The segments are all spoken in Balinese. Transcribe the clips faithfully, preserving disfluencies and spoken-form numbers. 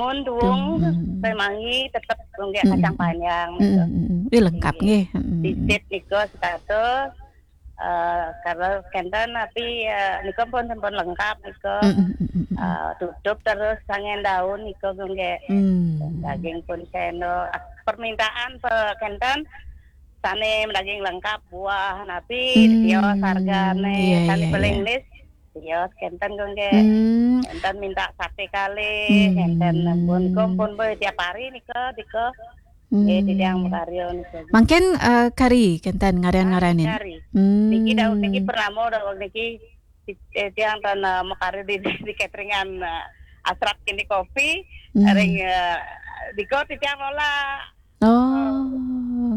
Mun duwung, mm-mm, remangi tetep nggih, mm-mm, kacang panjang, mm-mm, niku. Mm-mm. Ih, lengkap nggih. Mm-mm. Sisip niku sekatus, eh, kalau kenten tapi, eh, niku pun sampun lengkap niku. Mm-mm, mm-mm, mm-mm. Eh, tutup terus sangen daun niku nggih. Mm. Daging pun sendok. Ah, permintaan pe kenten sane daging lengkap, buah napi, mm, tios hargane, iya, sane iya, paling iya, lis, tios kenten kok nggih. Mm. Kenten minta sate kalih, mm, kenten pun, pun, pun, boy, tiap hari nika, nika. Mm. Eh, titiang makarya nika. Mangkin, eh, kari kenten ngaran-ngaranin. Kari, kari. Mm. Niki dawuh niki purnama, dawuh niki, eh, tiang ten, eh, makarya di, di cateringan, eh, Asrat Kini Kopi, mm, ring, eh, dika titiang lola. Oh,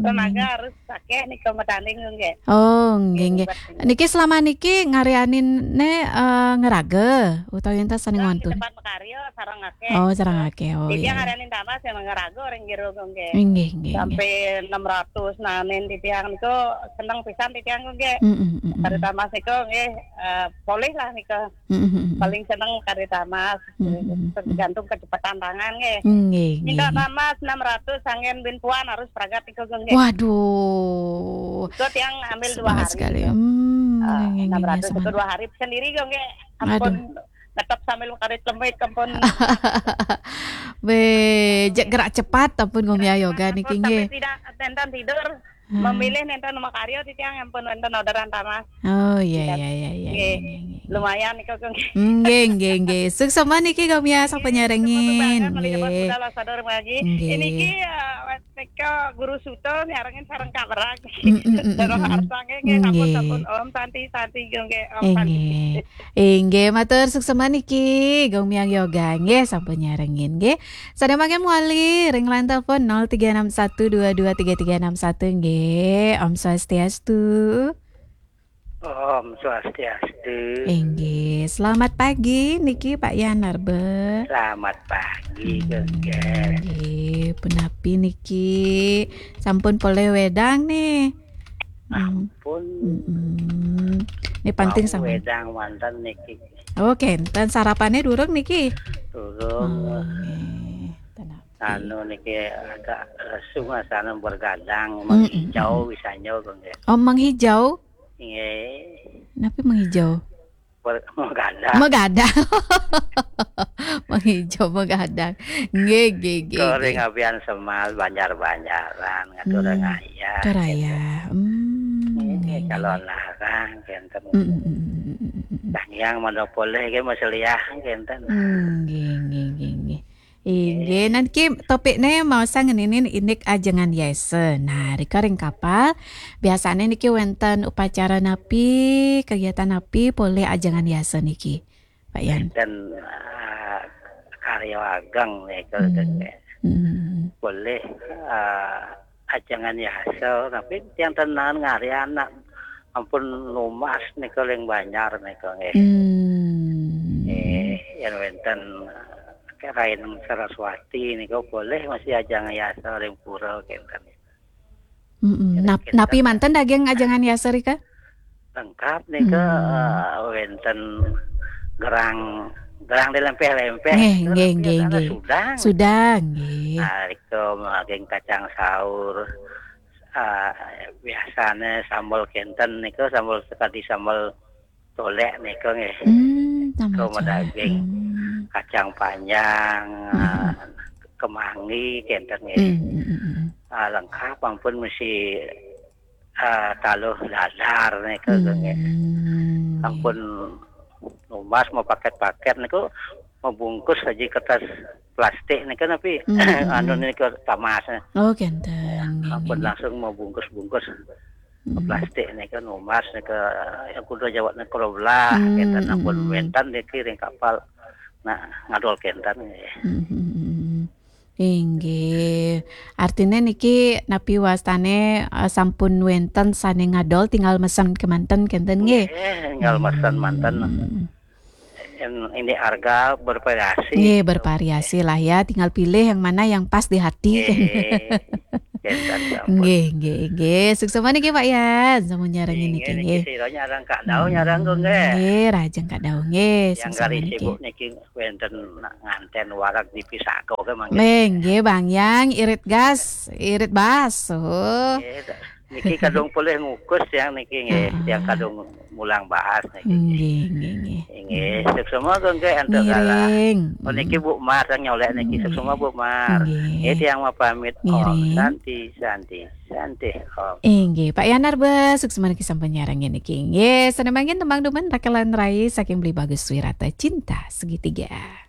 tenaga nggih, harus akeh nika medane nggih. Oh, nggih, nggih, nggih. Niki selama niki ngaryanin ne, eh, ngeraga utawi enten sane, nah, di ngontun? Tempat makarya sareng akeh. Oh, sareng akeh. Oh, iya, iya. Titiang ngaryanin tamas yang ngeraga ring jero nggih. Nggih, nggih, nggih. Sampai enam ratus nanen titiang niku seneng pisan titiang nggih. Mm, mm, mm, mm. Kari tamas niku nggih, eh, polih lah niku. Mm, mm, mm, mm. Paling seneng kari tamas. Mm, mm, mm, mm. Tergantung kecepatan tangan nggih. Nggih, nggih, nggih. Minta tamas enam ratus sangen bin puan harus pragat niku nggih. Waduh. Itu tiang ambil dua hari sekali. Hmm, ah, nggih, nggih, nggih, enam ratus itu dua hari sendiri kok nggih. Ampun, aduh, netep sambil karit lemit, ampun. Be, jek gerak cepat, ampun, Gong Mia Yoga niki nggih. Sampai tidak, tenten tidur. Hmm. Memilih nenten makarya titiang ampun wenten orderan tamas. Oh, iya, iya, iya, iya, nggih, iya, iya, iya. Lumayan niku, Gong. Nggih, nggih, nggih. Suksma niki, Gong Mia, sampun nyarengin. Nggih, nggih. Nggih. Niki, eh, guru suto nyarengin sareng Kak Merak. Mm, mm, mm, mm, mm. Arsa nggih, nggih, sampun, nggih, sampun. Om Santi, Santi, nggih, Om Santi. Nggih. Inggih, matur suksma niki, Gong Mia Yoga, nggih, sampun nyarengin, nggih. Sadaya mangkin mawali ring line telepon nol tiga enam satu dua dua tiga tiga enam satu, nggih. Om Swastiastu. Om Swastiastu. Inggih, selamat pagi niki Pak Yan Narbe. Selamat pagi, hmm, Gengger. Nggih, punapi niki? Sampun polih wedang nih? Hmm. Ampun. Mm-mm. Ini penting. Wau sama wedang wonten niki. Oh, kenten sarapane durung niki? Durung. Oh, nggih. Tenang. Anu niki agak lesu ngrasane, bergadang, mm-mm, menghijau, mm-mm, bisa nyo, nggih. Oh, menghijau? Nggih. Napi menghijau? Ber-, menggadang. Menggadang. Menghijau, menggadang. Nggih, nggih, nggih, nggih. Kok ring abian Semal, banjar-banjaran, ngatur, hmm, raya, Toraya, gitu. Hmm, nggih, nggih, nggih, calon nggih. Larang, kenten. Mm, mm, mm, mm, mm, mm, mm. Dah nyang monopole nggih, Mas Liah, kenten. Hmm, nggih, nggih, nggih, nggih. Inggih, niki topikne maosang ngeninin indik ajengan yasa. Nah, rika ring kapal, biasane niki wenten upacara napi, kegiatan napi polih ajengan yasa niki, Pak Yan? Wenten, ah, karya ageng nika, hmm, nggih. Hmm. Polih, ah, ajengan yasa, tapi tiang ten naen ngarya anak ampun numbas nika ring banjar nika nggih. Hmm. Eh, yen wenten, eh, Rain Saraswati nika polih masih ajengan yasa ring pura kenten. Mm-mm. Nap-, napi manten daging ajengan yasa rika? Lengkap nika, hmm, eh, wenten gerang, gerang dilempeh-lempeh. Nggih, nggih, nggih, nggih. Sudang. Sudang, nggih. Nah, rika daging kacang saur. Ah, biasane sambel kenten nika, sambel sekadi sambel tolek nika nggih. Hmm, sambel tolek. Nika daging, hmm, kacang panjang, hmm, ah, kemangi kenten nggih. Hmm, hmm, hmm, hmm. Ah, lengkap ampun mesti, ah, taluh dadar nika nggih. Hmm, nggih. Ampun numbas mau paket-paket niku, mau bungkus aja kertas plastik nika napi, hmm, hmm, anu, hmm, nika tamas. Oh, kenten. Ya, nggih, ampun nggih, nggih. Langsung mau bungkus-bungkus ke, hmm, plastik nika numbas nika, yang kuda jawab nika belah, hmm, kenten, ampun, hmm, wenten niki ring kapal. Nah, ngadol kenten nggih. Hmm, hmm, hmm, hmm. Inggih. Artine niki napi wastane, eh, sampun wenten sane ngadol, tinggal mesen kemanten kenten nggih? Nggih, tinggal mesen manten. Hmm. Yang ini harga bervariasi. Nggih, bervariasi lah ya. Tinggal pilih yang mana yang pas di hati. Nggih. Entan sampun. Nggih, nggih, nggih. Suksma niki Pak Yan, sampun nyarengin niki, nggih. Niki sira nyareng Kak Daung, nyareng kok, nggih. Nggih, rajeng Kak Daung, nggih. Yang suksma kali niki. Sibuk niki wenten nganten wareg di Pisako ke mangke. Nggih, nggih, Bang Yang, irit gas, irit bas. Oh. Nggih, niki kadung polih ngukus yang niki, nggih, heeh, yang kadung mulang bahas niki. Nggih, nggih, nggih. Nggih, suksma kok, nggih, entuk galah. Ngiring. Oh, niki Bu Mar yang nyolek niki. Nggih. Suksma Bu Mar. Nggih. Nggih, tiang mau pamit. Om ngiring. Santi, Santi, Santi, Om. Inggih, Pak Yanar be, suksma niki sampun nyarengin niki. Nggih, sané mangkin tembang dumen Rakelan Rai saking Beli Bagus Wirata, Cinta Segitiga.